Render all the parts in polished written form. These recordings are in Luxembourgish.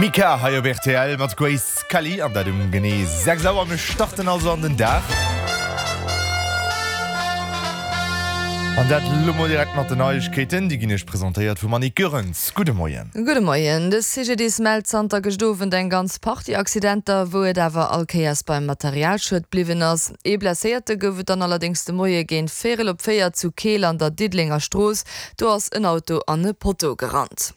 Mika hei op rtl mat Grace Kelly an dat um genee 6 Auer. Mir starten also an den Dag. An dat elo mol direkt mat den Neiegkeeten. Déi ginn Iech presentéiert vum Annick Goerens. Gudde Moien. Gudde Moien. De CGDIS mellt zanter gëscht Owend eng ganz Partie Accidenter, wou et awer all Kéiers beim Materialschued bliwwen ass. Ee Blesséierte gouf et dann allerdéngs de Moie géint véierel op 4 zu Keel an der Diddelenger Strooss. Do ass en Auto an e Potto gerannt.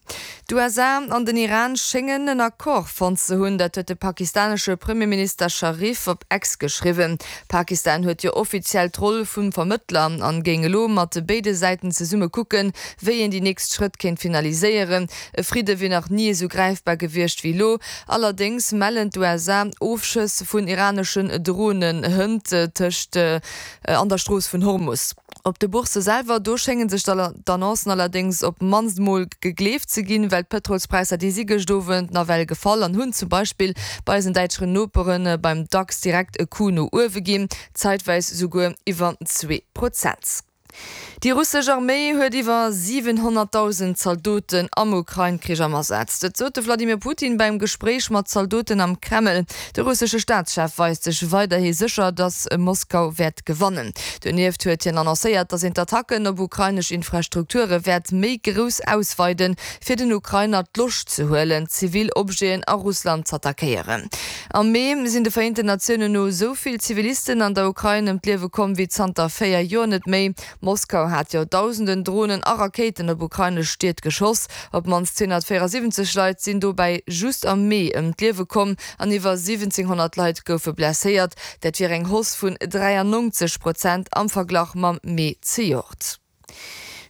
D'USA an den Iran schéngen en Accord fonnt ze hunn. Dat huet de pakistanesche Premierminister Sharif op X geschriwwen. Pakistan huet jo offiziell d'Roll vum Vermëttler an géing elo mat béide Säiten zesumme kucken, wéi een déi nächst Schrëtt kéint finaliséieren. E Fridde wier nach ni esou gräifbar gewiescht wéi elo. Allerdéngs mellen d'USA Ofschëss vun iraneschen Dronen hënt tëscht an der Strooss vun Hormus. Op de Boursse selwer, do schénge sech d'Annoncen allerdéngs op d'mannst mol gegleeft ze ginn, well d'Pëtrolspräisser, déi si gëscht Owend nawell gefall an hunn zum Beispill bei eisen däitscheren Nopere beim Dax direkt e Coup no uewe ginn, zäitweis souguer iwwer 2%. Déi russesch Arméi huet iwwer 700.000 Zaldoten am Ukrain-Krich am Asaz. Dat sot de Wladimir Putin beim Gespréich mat Zaldoten am Kreml. De russesche Staatschef weist sech weiderhi sécher, datt Moskau wäert gewannen. Donieft huet hien annoncéiert, datt een d'Attacken op ukrainesch Infrastrukture wäert méi grouss ausweiden, fir den Ukrainer d'Loscht ze huelen, zivil Objeten a Russland z'attackéieren. Am Mee sinn de Vereenten Natiounen no esou vill Zivilisten an der Ukrain ëm d'Liewe komm wéi zanter 4 Joer net méi. Moskau hat jo dausenden Dronen a Rakéiten op ukrainesch Stied geschoss. Op d'mannst 274 Leit sinn dobäi just am Mee ëm d'Liewe komm an iwwer 1.700 Leit goufe blesséiert. Dat wier eng Hausse vun 93 Prozent am Verglach mam Mee zejoert.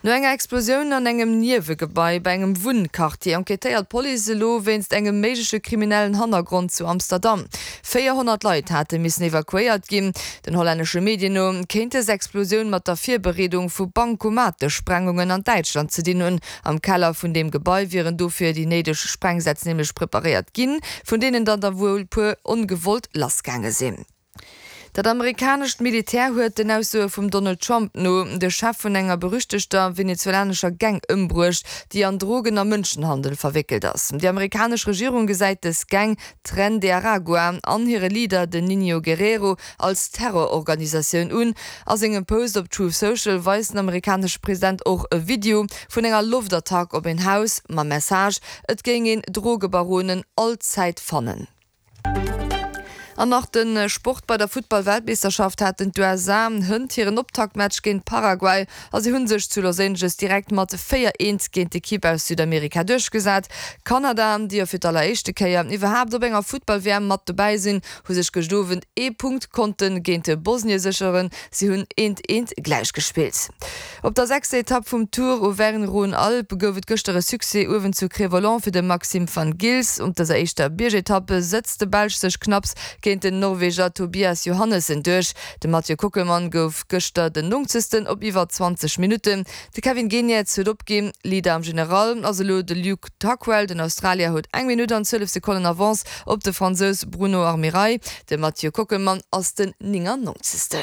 No enger Explosioun an engem Niewegebai bei engem Wunnquartier enquêtéiert d'Police elo wéinst engem méigleche kriminellen Hannergrond zu Amsterdam. 400 Leit hate missen evakuéiert ginn. Den hollännesche Medien no kéint dës Explosioun mat der Virbereedung vu Bankomatesprengungen an Däitschland ze dinn hunn. Am Keller vun deem Gebai wieren dofir déi néideg Sprengsätz nämlech preparéiert ginn, vun deenen dann der wuel puer ongewollt lassgaange sinn. Dat amerikanescht Militär huet, den Aussoe vum Donald Trump no, de Chef vun enger berüchtegter venezuelanescher Gang ëmbruecht, déi an Drogen a Mënschenhandel verwéckelt ass. Déi amerikanesch Regierung gesäit dës Gang, Tren de Aragua, an hire Leader, den Niño Guerrero, als Terrororganisatioun un. A sengem Post op Truth Social weist den amerikanesche President och e Video vun enger Loftattack op een Haus mam Message, et géing een Drogebaronen all Zäit fannen. An nach de Sport, Bei der Futtball-Weltmeeschterschaft haten d'USA hënt hiren Optaktmatch géint Paraguay a si hu sech zu Los Angeles direkt mat 4, 1 géint d'Ekipp aus Südamerika duerchgesat. Kanada, déi jo fir d'alleréischte Kéier iwwerhaapt op enger Futtball-WM mat dobäi sinn, hu sech gëscht Owend ee Punkt konnte géint Bosnie sécheren. Si hunn eent eent gläich gespillt. Op der sechster Etapp vum Tour Auvergne-Rhône-Alpes gouf et gëschter e Succès uewen zu Cré-Volant fir de Maxime Van Gils. Op dëser éischter Biergetapp sëtzt de Belsch sech knapps géint den Norweger Tobias Johannessen duerch. De Mathieu Kockelmann gouf gëschter den Nongzegsten op iwwer 20 Minutten. De Kevin Geniets huet opginn. Leader am General ass elo de Luke Tuckwell. Den Australier huet eng Minutt an 12 Sekonnen Avance op de Fransous Bruno Armirail. De Mathieu Kockelmann ass den 99.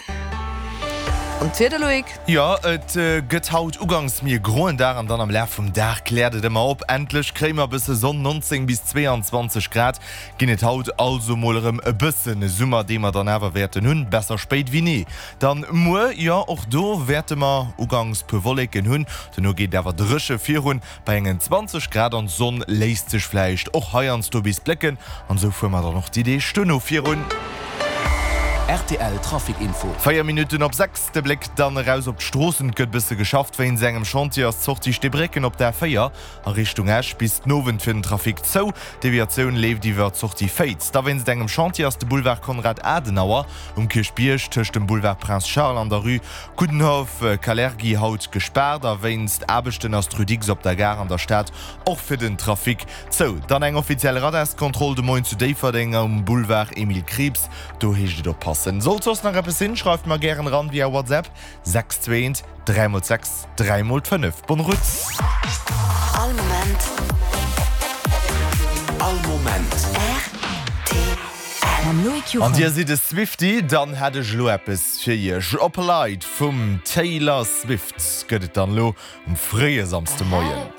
An d'Wieder, Loïc? Jo, et gëtt haut ugangs méi e groen Dag an dann am Laf vum Dag kläert et ëmmer op. Endlech kréie mer e bësse Sonn, 19 bis 22 Grad ginn et haut, also mol erëm e bëssen Summer, dee mer dann awer wäerten hunn. Besser spéit wéi ni. Dann muer, jo och do wäerte mer ugangs puer Wolleken hunn, dono geet et awer dréche virun. Bei engen 20 Grad an d'Sonn léisst sech vläicht och heiansdo bis blécken an esou fuere mer dann och déi Deeg duerno virun. Rtl Trafic Info. 4 Minutten op 6, de Bléck dann eraus op d'Stroossen. Et gëtt bësse geschafft. Wéinst engem Chantier ass d'Sortie Steebrécken op der A4 a Richtung Esch bis den Owend fir den Trafic zou. D'Deviatioun leeft iwwer d'Sortie Féiz. Da wéinst engem Chantier ass de Boulevard Konrad Adenauer um Kierchbierg tëscht dem Boulevard Prince Charles an der Rue Coudenhove Kalergi haut gespaart a wéinst Aarbechten ass d'Rue Dicks op der Gare an der Stad och fir den Trafic zou. Dann eng offiziell Radarskontroll de Moien zu Déifferdeng um Boulevard Emile Krieps. Do heescht et oppassen. Sollt soss nach eppes sinn, schreift mer gären eran via WhatsApp 621 3 x 6 3 x 5. Bonne route! All Moment. All Moment. Rtl. Mam Loïc An Juchem. dir sidd e Swiftie? Dann hätt ech elo eppes fir iech. Opalite vum Taylor Swift gëtt et dann elo um fréie Samsdemoien.